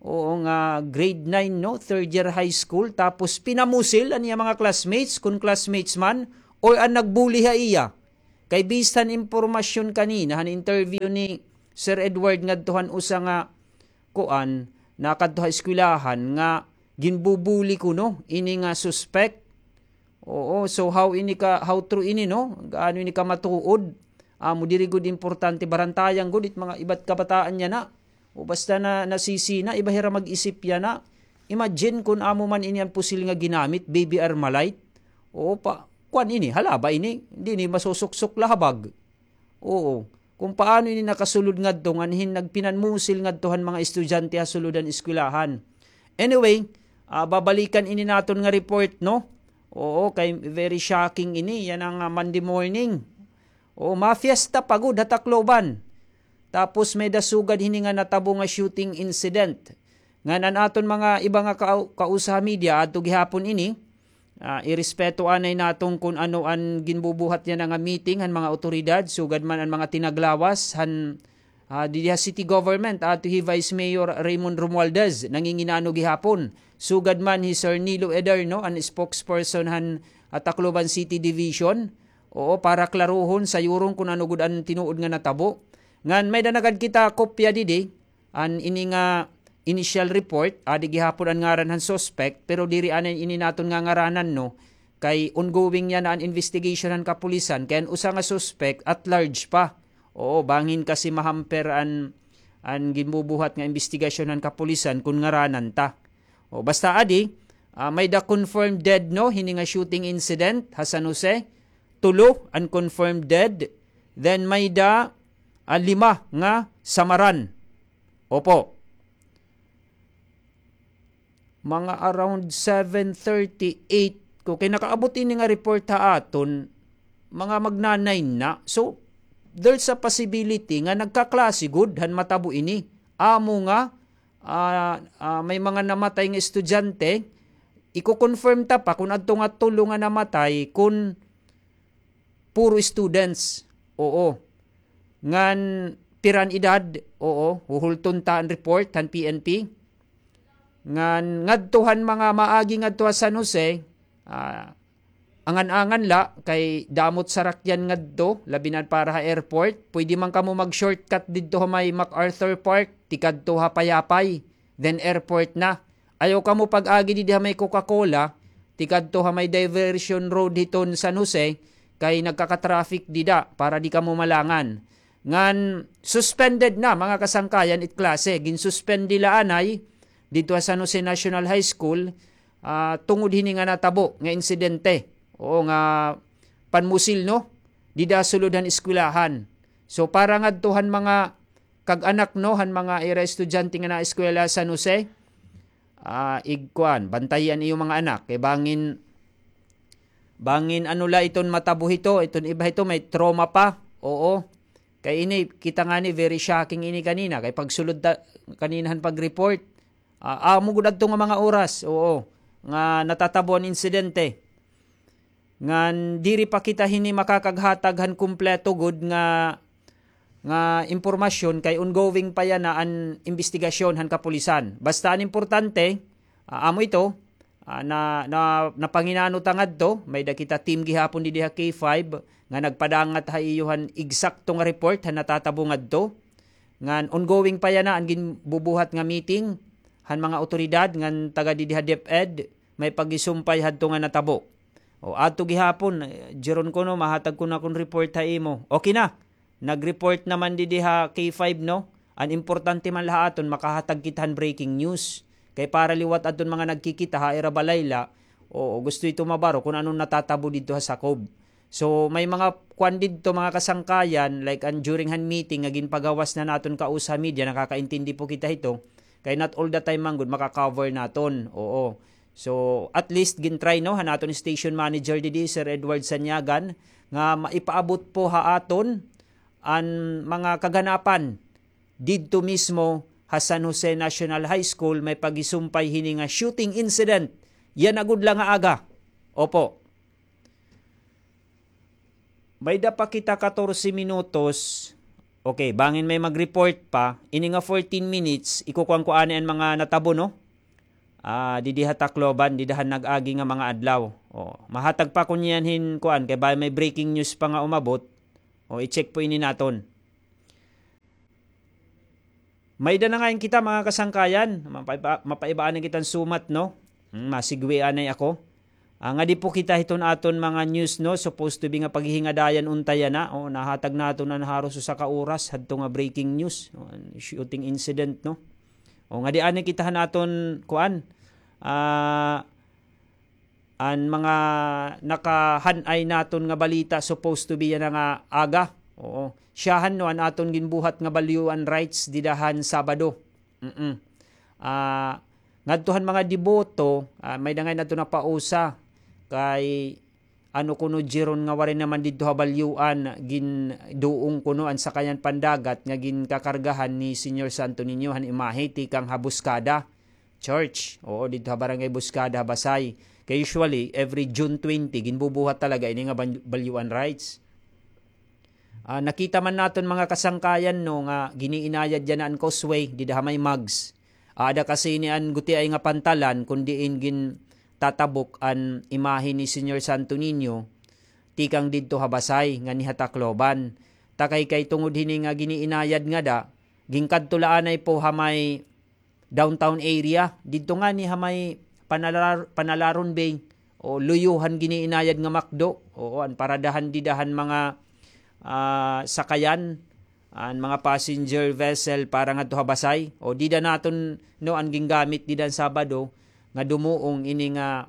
oo, nga grade nine, no? Third year high school, tapos pinamusil an iya mga classmates, kun classmates man, or an nag-bully ha iya. Kay based han impormasyon kanina, han interview ni Sir Edward, ngadto han usa nga kuan, nakadto ha eskwelahan nga ginbubuli kuno ini nga suspect. Oo, so how ini ka, how true ini, no? Gaano ini ka matuod? Amo diri gud importante, barantayan gud it mga iba't kabataan yana. O basta na nasisi na, iba hira mag-isip yana. Imagine kun amo man ini an pusil nga ginamit, baby Armalite. Oo, pa, kuan ini, halaba ini, diri ini masusuksok la ha bag. Oo. Kung paano ini nakasulod ngadto, ngan hin nagpinanmusil ngadto han mga estudyante ha sulod han eskwelahan. Anyway, ah, babalikan ini naton nga report, no? Oo, kay very shocking ini. Yana nga Monday morning. Oo, mafiesta pa gud ha Tacloban. Tapos may-ada sugad hini nga natabo nga shooting incident. Ngan an aton mga iba nga kau-, kausa ha media, adto gihapon ini, ah, irespeto anay naton kun ano an ginbubuhat yana nga meeting han mga awtoridad, sugad man an mga tinaglawas han, ah, didi ha city government, adto hi Vice Mayor Raymond Romualdez, nanginginano gihapon. Sugad man hi Sir Nilo Ederno, an spokesperson han, ah, Tacloban City Division. Oo, para klarohon, sayuron kun ano gud an tinuod nga natabo. Ngan may-ada na gad kita kopya didi, an ini nga initial report, adi gihapon an ngaran han suspect, pero diri anay ini naton ngangaranan, no, kay ongoing yana an investigation han kapulisan, kay an usa nga suspect at large pa. Oo, bangin kasi mahamper an, an ginbubuhat nga imbestigasyon han kapulisan kun ngaranan ta. O, basta adi, ah, may-ada confirmed dead, no, hini nga shooting incident ha San Jose. Tulo an confirmed dead. Then may-ada, ah, lima nga samaran. Opo. Mga around seven thirty, eight ko kay nakaabot ini nga report ha aton, mga magna-nine na. So, there's a possibility nga nagkaklase gud han matabo ini. Amo nga, ah, ah, may mga namatay nga estudyante, iko-confirm ta pa kun adto nga tulo nga namatay, kun puro students. Oo. Ngan pira an edad? Oo, huhulton ta an report han P N P. Ngan ngadto han mga maagi ngadto ha San Jose, ah, angan-angan la, kay damo it sarakyan ngadto, labi na para ha airport. Pwede man kamo mag-shortcut didto ha may MacArthur Park, tikadto ha Payapay, then airport na. Ayaw kamo pag-agi didi ha may Coca-Cola, tikadto ha may diversion road hiton San Jose, kay nagkaka-traffic dida para di kamo malangan. Ngan suspended na, mga kasangkayan, it klase. Ginsuspend la anay didto ha San Jose National High School, ah, tungod hini nga natabo nga insidente. Oo, nga panmusil, no? Dida sulod han eskwelahan. So, para ngadto han mga kag-anak, no, han mga ira estudyante nga naeskwela ha San Jose, ah, igkuan, bantayi an iyo mga anak. Kay bangin, bangin ano la iton matabo hito, iton iba hito, may trauma pa. Oo. Kay ini, kita ngani, very shocking ini kanina. Kay pagsulod ta, kanina han pag-report, ah, amo gud adto nga mga oras, oo, nga natatabo an insidente. Ngan diri pa kita hini makakaghatag han kumpleto gud nga, nga impormasyon kay ongoing pa yana an imbestigasyon han kapulisan. Basta an importante, ah, amo ito, ah, na, na, napanginano ta ngadto, may-ada kita team gihapon didi ha K five nga nagpadangat ha iyo han eksakto nga report han natatabo ngadto. Ngan ongoing pa yana an ginbubuhat nga meeting han mga awtoridad ngan taga didi ha DepEd, may paghisumpay hadto nga natabo. O, adto gihapon, eh, Jeron kuno, mahatag ko na akon report ha imo. Okay na. Nag-report naman didi ha K five, no? An importante man la ha aton, makahatag kita han breaking news. Kay para liwat adton mga nagkikita ha ira balay la, o, gusto ito mabaro kun ano an natatabo didto ha sakob. So, may mga kuan didto, mga kasangkayan, like an during han meeting nga ginpagawas na naton kausa ha media, nakakaintindi po kita hito, kay not all the time man gud maka-cover naton. Oo. So, at least gin-try, no, han aton station manager didi, Sir Edward Sanyagan, nga maipaabot po ha aton an mga kaganapan didto mismo ha San Jose National High School, may paghisumpay hini nga shooting incident yana gud la nga aga. Opo. May-ada pa kita katorse minutos. Okay, bangin may mag-report pa. Ini nga fourteen minutes, ikukuan ko anay an mga natabo, no? Ah, didi ha Tacloban, dida han nag-agi nga mga adlaw. O, mahatag pa ko niyan hin kuan, kay bangin may breaking news pa nga umabot. O, i-check po ini naton. May-ada na ngay-an kita, mga kasangkayan. Mapaiba-, mapaibaan na kita hin sumat, no? Hmm, masigwian na ako. Ah, ngadi po kita hiton aton mga news, no? Supposed to be nga paghihingadayan unta yana. O, nahatag naton an haros usa ka oras hadto nga breaking news. O, an shooting incident, no? O, ngadi anay kita han aton, kuan, ah, an mga nakahan-ay naton nga balita, supposed to be yana nga aga. Oo. Siyahan, no, an aton ginbuhat nga balyuan rights dida han Sabado. Mm. Ah, ngadto han mga deboto, ah, may-ada ngay-an adto napausa kay ano kuno, Jeron, nga waray naman didto ha balyuan, ginduong kuno an sakayan pandagat nga ginkakargahan ni Señor Santo Niño han imahe tikang ha Buscada Church. Oo, didto ha Barangay Buscada ha Basay. Kay usually, every June twenty, ginbubuhat talaga ini nga ban-, balyuan rights. Ah, nakita man naton, mga kasangkayan, no, nga giniinayad yana an causeway dida ha may Mugs. Aada kasi ini an gutiay nga pantalan kon diin gintatabok an imahe ni Señor Santo Niño tikang didto ha Basay nganhi ha Tacloban. Takay kay tungod hini nga giniinayad ngada, ginkadto la anay po ha may downtown area. Didto ngani ha may Panalar-, Panalaron Bay, o, luyo han giniinayad nga McDo. Oo, an paradahan dida han mga, ah, sakayan, an mga passenger vessel para ngadto ha Basay. O, dida naton, no, an gingamit dida han Sabado nga dumuong ini nga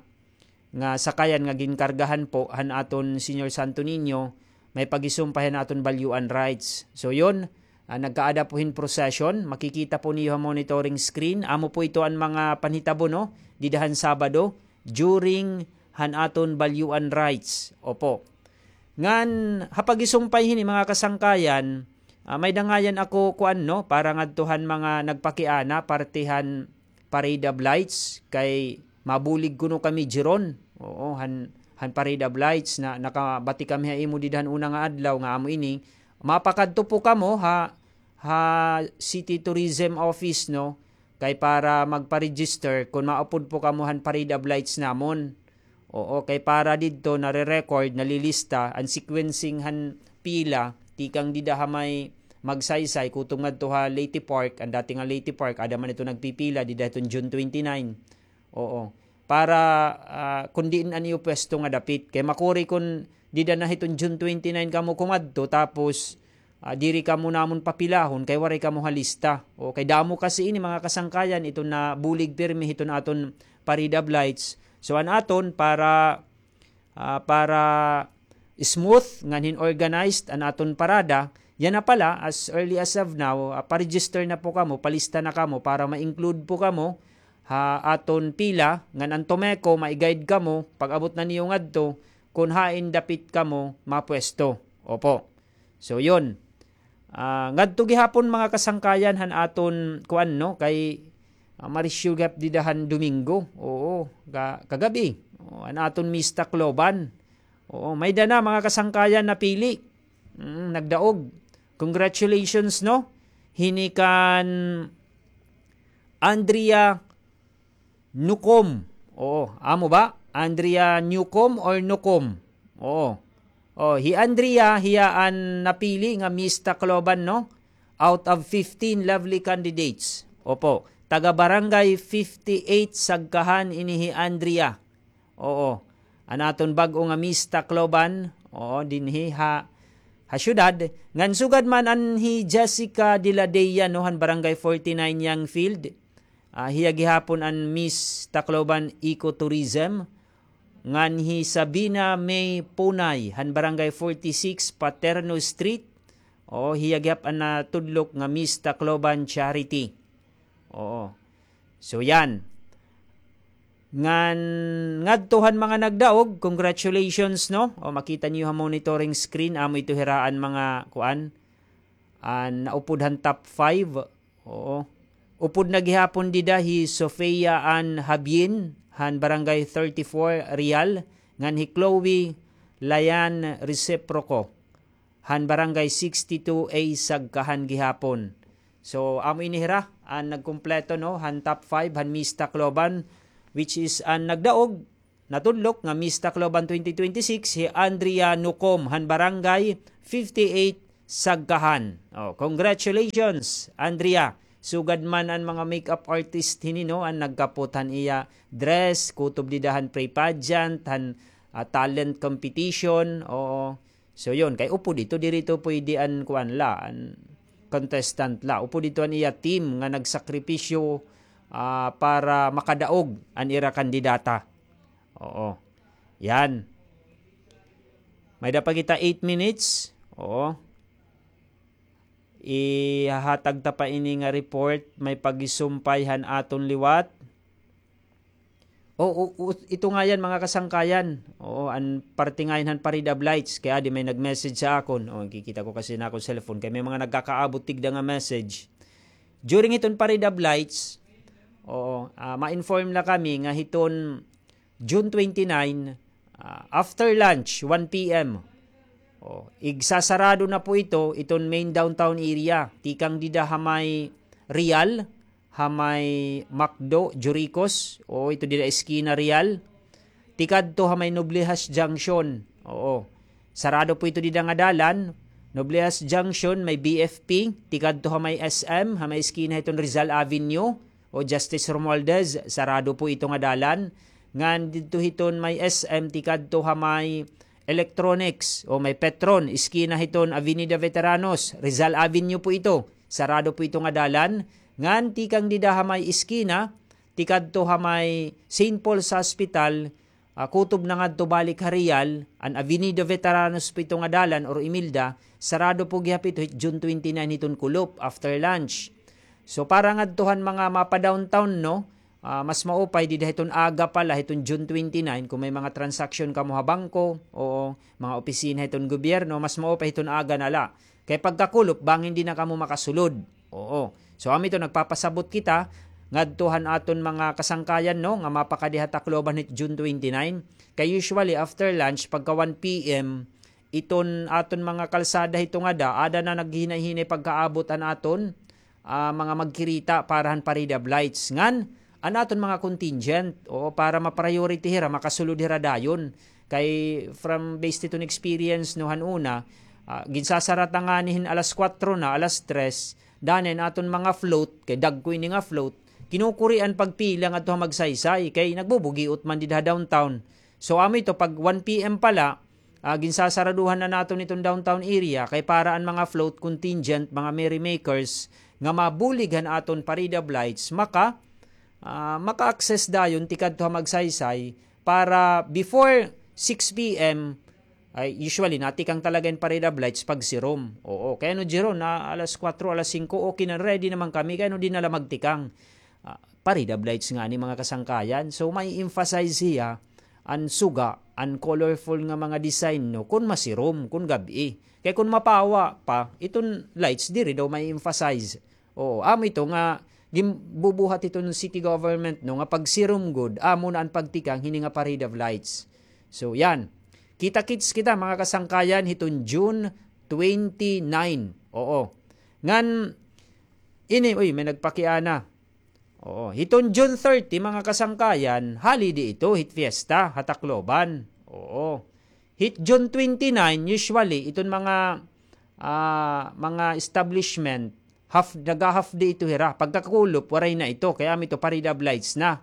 nga sakayan nga ginkargahan po han aton Señor Santo Niño, may paghisumpay han aton balyuan rights. So yun, ah, nagkaada po hin procession, makikita po niyo ha monitoring screen. Amo po ito an mga panhitabo, no, dida han Sabado, during han aton balyuan rights. Opo. Ngan ha paghisumpay hini, mga kasangkayan, ah, may-ada ngay-an ako kuan, no, para ngadto han mga nagpakiana, parte han Parade of Lights, kay mabulig kuno kami, Jeron. Oo, han, han Parade of Lights na nakabati kami ha imo dida han una nga adlaw nga amo ini. Mapakadto po kamo ha, ha City Tourism Office, no? Kay para magpa-register kon maupod po kamo han Parade of Lights namon. Oo, kay para didto nare-record, nalilista an sequencing han pila, tikang dida ha may Magsaysay, kutob ngadto ha Leyte Park, an dati nga Leyte Park, ada man ito nagpipila, dida hiton June twenty-nine. Oo. Para, ah, kon diin an iyo pwesto nga dapit. Kay makuri kon dida na hiton June twenty-nine kamo kumadto, tapos, ah, diri kamo namon papilahon, kay waray kamo ha lista. O, kay damo kasi ini, mga kasangkayan, iton nabulig pirmi hiton aton Parade of Lights. So, an aton para ah, para smooth ngan hin organized an aton parada. Yana pala, as early as of now, ah, pa-register na po kamo, palista na kamo para ma-include po kamo ha aton pila, ngan an Tomeco, mai-guide kamo, pag-abot na niyo ngadto, kon hain dapit kamo mapwesto. Opo. So, yun. Ah, ngadto gihapon, mga kasangkayan, han aton kuan, no, kay, ah, Marisyo gihap dida han Domingo. Oo, ka-, kagab-i. Oo, an aton Miss Tacloban. Oo, may-ada na, mga kasangkayan, napili. Mm, nagdaog. Congratulations, no? Hini kan Andrea Nucom. Oo, amo ba? Andrea Newcom or Nucom? Oo. Oh, hi Andrea, hiya an napili nga Miss Tacloban, no? Out of fifteen lovely candidates. Opo. Taga Barangay fifty-eight Sagkahan ini hi Andrea. Oo. An aton bag-o nga Miss Tacloban, oo, dinhi ha, ha syudad. Ngan sugad man an hi Jessica Diladea, no, han Barangay forty-nine Youngfield. Ah, hiya gihapon an Miss Tacloban Ecotourism. Ngan hi Sabina May Punay, han Barangay forty-six Paterno Street. Oo, hiya gihap an natudlok nga Miss Tacloban Charity. Oo. So, yan. Ngan ngadto han mga nagdaog, congratulations, no? O, makita niyo ha monitoring screen, amo ito hira an mga, kuan, an naupod han top five. Oo. Upod na gihapon dida hi Sofia Ann Habien, han Barangay thirty-four Real, ngan hi Chloe Layan Reciproco han Barangay sixty-two A Sagkahan gihapon. So, amo ini hira an nagkumpleto, no, han top five han Miss Tacloban, which is an nagdaog, natudlok nga Miss Tacloban twenty twenty-six, hi Andrea Nucom han Barangay fifty-eight Sagkahan. Oh, congratulations, Andrea. Sugad man an mga makeup artist hini, no, an nagkapot han iya dress, kutob dida han pre-pageant, han, ah, talent competition, oo. So, yun, kay upod ito, diri ito pwede an, kuan la, an contestant la. Upod ito an iya team nga nagsakripisyo, ah, para makadaog an ira kandidata. Oo. Yan. May-ada pa kita eight minutes. Oo. Ihahatag ta pa ini nga report, may pagisumpay han aton liwat. O, o, o, ito nga yan, mga kasangkayan. Oo, an parte nga yan han Parade of Lights. Kay adi may nag-message ha akon. O, kikita ko kasi na akon cellphone. Kay may mga nagkakaabot tigda nga message. During hiton Parade of Lights, oo, ah, ma-inform la kami nga hiton June twenty-nine, ah, after lunch, one P M. Oh, igsasarado na po ito, iton main downtown area. Tikang dida ha may Real, ha may McDo, Juricos, o ito dida eskina Real. Tikadto ha may Noblejas Junction. Oo. Sarado po ito dida nga dalan. Noblejas Junction, may B F P. Tikadto ha may S M, ha may eskina hiton Rizal Avenue. O Justice Romualdez, sarado po ito nga dalan. Ngan didto hiton may S M, tikadto ha may Electronics, o may Petron, eskina hiton Avenida Veteranos, Rizal Avenue po ito. Sarado po ito nga dalan. Ngan tikang dida ha may eskina, tikadto ha may Saint Paul's Hospital, ah, kutob na ngadto balik ha Real, an Avenida Veteranos po ito nga dalan or Imelda, sarado po gihap ito hit June twenty-nine hiton kulop after lunch. So, para ngadto han mga mapa-downtown, no, ah, mas maupay dida hiton aga pa la, hiton June twenty-nine, kon may mga transaction kamo ha bangko, oo, mga opisina hiton gobyerno, mas maupay hiton aga na la. Kay pagkakulop, bangin di na kamo makasulod. Oo. So, amo ito, nagpapasabot kita ngadto han aton mga kasangkayan, no, nga mapakadi ha Tacloban hit June twenty-nine. Kay usually, after lunch, pagka one P M, iton aton mga kalsada hito ngada, ada na naghihinay-hinay pagkaabot an aton, ah, mga magkirita para han Parade of Lights. Ngan, an aton mga contingent, oo, para ma-priority hira, makasulod hira dayon. Kay from based hiton experience, no, han una, ah, ginsasara ta ngani hin alas kuwatro na, alas tres, danay an aton mga float, kay dagko ini nga float, kinukurian pagpila ngadto ha Magsaysay, kay nagbubugiot man dida ha downtown. So, amo ito, pag one P M pa la, ah, ginsasaraduhan na naton iton downtown area, kay para an mga float contingent, mga merrymakers, nga mabulig han aton Parade of Lights, maka, ah, maka-access dayon tikadto ha Magsaysay para before six P M, ay, usually, natikang talaga in Parade of Lights pag sirom. Oo, kay ano, Jeron, na alas kuwatro, alas singko, okay na, ready naman kami, kay ano, di na la magtikang. Ah, Parade of Lights ngani, mga kasangkayan. So, ma-emphasize hiya an suga, an colorful nga mga design, no, kon masirom, kon gab-i. Kay kon mapawa pa, iton lights diri daw ma-emphasize. Oo, amo ito nga ginbubuhat hiton city government, no, nga pagsirom gud, amo na an pagtikang hini nga Parade of Lights. So, yan. Kita-kits kita, mga kasangkayan, hiton June twenty-nine. Oo. Ngan, ini, uy, may nagpakiana. Oo. Hiton June thirty, mga kasangkayan, holiday ito, hit fiesta, ha Tacloban. Oo. Hit June twenty-nine, usually, iton mga, ah, mga establishment, half, naga-half day ito hira. Pagkakulop, waray na ito. Kay amo ito, Parade of Lights na.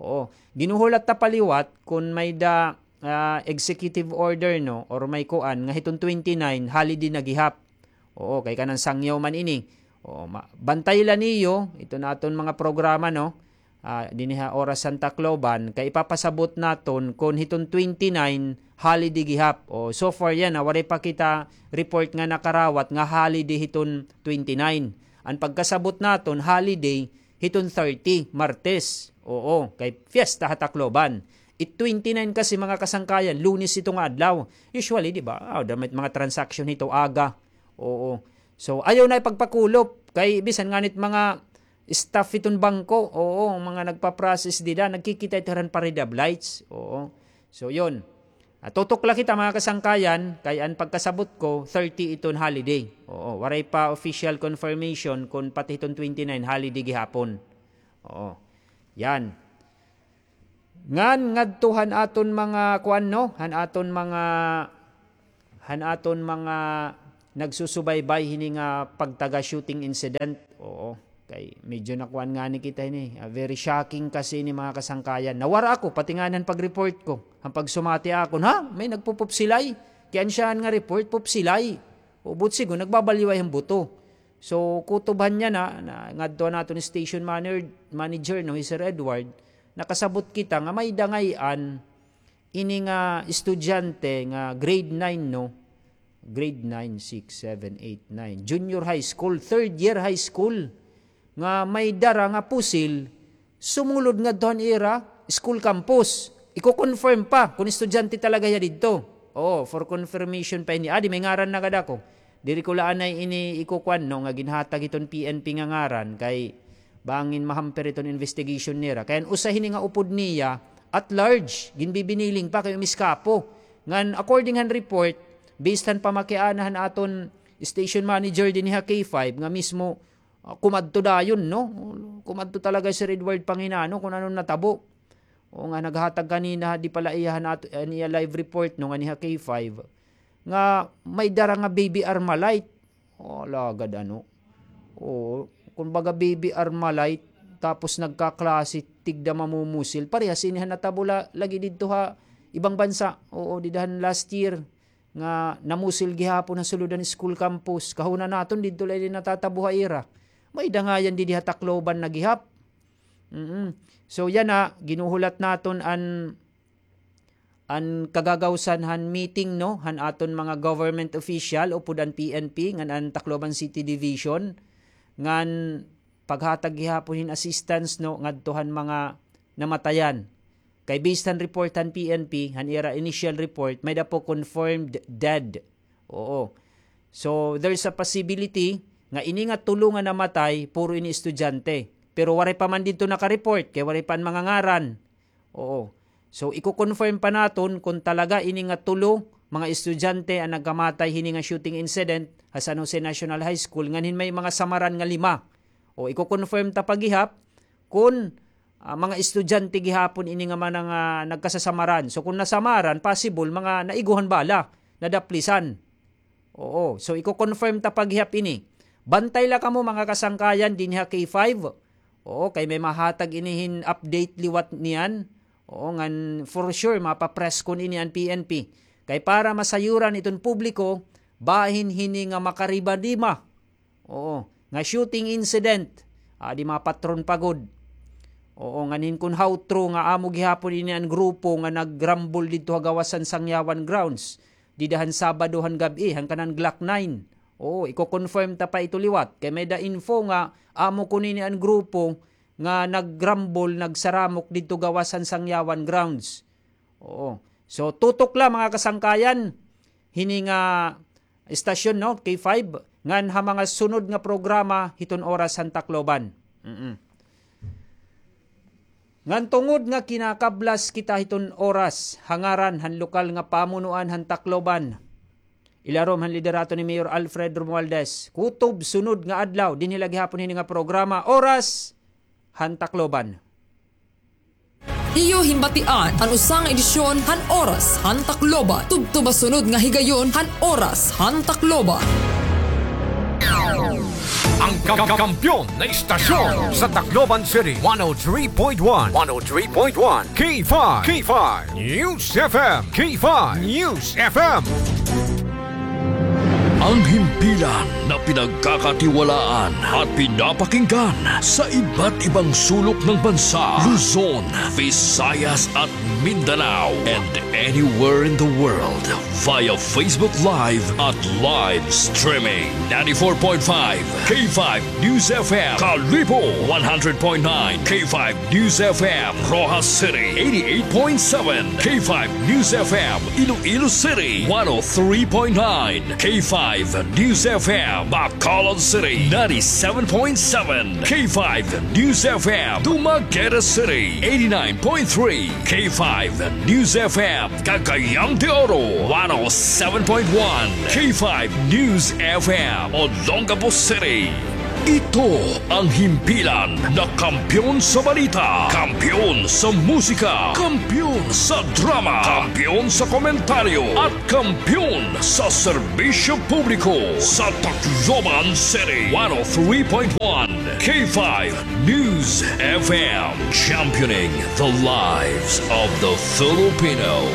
Oo. Ginuhulat ta pa liwat kon may-ada, ah, executive order, no, or may kuan, nga hiton twenty-nine, holiday na gihap. Oo, kay kanan sangyaw man ini. Oo, ma-, bantay la niyo, ito na aton mga programa, no? Ah, dinhi ha Oras han Tacloban, kay ipapasabot naton kon hiton twenty-nine, holiday gihap. O, so far yana, waray pa kita report nga nakarawat nga holiday hiton twenty-nine. An pagkasabot naton, holiday hiton thirty, Martes. Oo, kay fiesta ha Tacloban. It twenty-nine kasi, mga kasangkayan, Lunes ito nga adlaw. Usually, di ba? Ah, damit mga transaction hito aga. Oo. So, ayaw na ipagpakulop. Kay bisan nganit mga staff hiton bangko, oo, mga nagpa-process dida, nagkikita ito han Parade of Lights. Oo. So, yun. Ah, tutok la kita, mga kasangkayan, kay an pagkasabot ko, thirty iton holiday. Oo, waray pa official confirmation kon pati hiton twenty-nine holiday gihapon. Oo. Yan. Ngan ngadto han aton mga kuan, no? Han aton mga, han aton mga nagsusubaybay hini nga pagtaga shooting incident. Oo. Ay, medyo nakuan ngani kita ini. Ah, very shocking kasi ini, mga kasangkayan. Nawara ako, pati ngani han pag-report ko. Han pagsumati akon, ha? May nagpupupsilay. Kay an siyahan nga report, pupsilay. O, buot sigon, nagbabalyaw han buto. So, kutob han yana, na, ngadto an aton station manager, manager, no, hi Sir Edward, nakasabot kita nga may-ada ngay-an ini nga estudyante nga grade nine, no? Grade nine, six, seven, eight, nine. Junior high school, third year high school. Nga may dara nga pusil, sumulod ngadto han ira school campus. Iko-confirm pa kon estudyante talaga hiya didto. Oo, for confirmation pa ini. Adi, may ngaran na gad ako. Diri ko la anay ini ikukuan, no, nga ginhatag hiton P N P nga ngaran kay bangin mahamper iton investigation nira. Kay an usa hini nga upod niya, at large, ginbibiniling pa kay umiskapo. Ngan according han report, based han pamakiana han aton station manager dinhi ha K five, nga mismo, ah, kumadto dayon, no? Kumadto talaga Sir Edward Panginano kon ano natabo. O nga, naghatag kanina, di pala iya han ato, an iya live report, no, nganhi ha K five, nga may dara nga baby Armalite. O, lagad ano. O, kumbaga baby Armalite, tapos nagkaklase, tigda mamumusil. Parehas ini han natabo la-, lagi didto ha ibang bansa. Oo, dida han last year nga namusil gihapon ha sulod han school campus. Kahuna naton didto la ini natatabo ha ira. May-ada ngay-an didi ha Tacloban na gihap. Mm. So, yana, ginuhulat naton an, an kagagawsan han meeting, no, han aton mga government official upod an P N P ngan an Tacloban City Division, ngan paghatag gihapon hin assistance, no, ngadto han mga namatayan. Kay based han report han P N P, han ira initial report, may-ada po confirmed dead. Oo. So, there's a possibility nga ini nga tulo nga namatay, puro ini estudyante. Pero waray pa man didto naka-report, kay waray pa an mga ngaran. Oo. So, iko-confirm pa naton kon talaga ini nga tulo, mga estudyante an nagkamatay hini nga shooting incident ha San Jose National High School, nganhin may mga samaran nga lima. O, iko-confirm ta pa gihap kon, ah, mga estudyante gihapon ini nga mga nga nagkasasamaran. So, kon nasamaran, possible, mga naiguhan bala, nadaplisan. Oo. So, iko-confirm ta pa gihap ini. Bantay la kamo, mga kasangkayan, dinhi ha K five. Oo, kay may mahatag ini hin update liwat niyan. Oo, ngan for sure, mapapress kon ini an P N P. Kay para masayuran iton publiko, bahin hini nga makariba-dima. Oo, nga shooting incident. Adi mapatron pa gud. Oo, nganhin kon how true nga amo gihapon ini an grupo nga nagrambol didto ha gawas han Sangyawan grounds. Dida han Sabado han gab-i, han kanan Glock nine. Oo, iko-confirm ta pa ito liwat. Kay may-ada info nga amo kuno ini an grupo nga nagrambol, nagsaramok didto gawas han Sangyawan grounds. Oo. So, tutok la, mga kasangkayan, hini nga estasyon, no, K five, ngan ha mga sunod nga programa hiton Oras han Tacloban. Mm-mm. Ngan tungod nga kinakablas kita hiton Oras, ha ngaran han lokal nga pamunuan han Tacloban, ilarom han liderato ni Mayor Alfred Romualdez, kutob sunod nga adlaw, dinhi la gihapon hini nga programa, Oras han Tacloban. Iyo hinbatian an usa nga edisyon han Oras han Tacloban. Tubtob ha sunod nga higayon han Oras han Tacloban. Ang ka-, ka-, kampiyon na istasyon sa Tacloban City, one oh three point one, one oh three point one, K five, K five News F M, K five News F M. Ang himpilan na pinagkakatiwalaan at pinapakinggan sa iba't ibang sulok ng bansa, Luzon, Visayas at Mindanao, and anywhere in the world via Facebook Live at live streaming. Ninety-four point five K five News F M, Kalibo, one hundred point nine K five News F M, Roxas City, eighty-eight point seven K five News F M, Iloilo City, one oh three point nine K five News F M, Bacolod City, ninety-seven point seven K five News F M, Dumaguete City, eighty-nine point three K five News F M, Cagayan de Oro, one oh seven point one K five News F M, Olongapo City, Ito ang himpilan na kampiyon sa balita, kampiyon sa musika, kampiyon sa drama, kampiyon sa komentaryo, at kampiyon sa serbisyo publiko sa Tacloban City. One oh three point one K five News F M, championing the lives of the Filipino.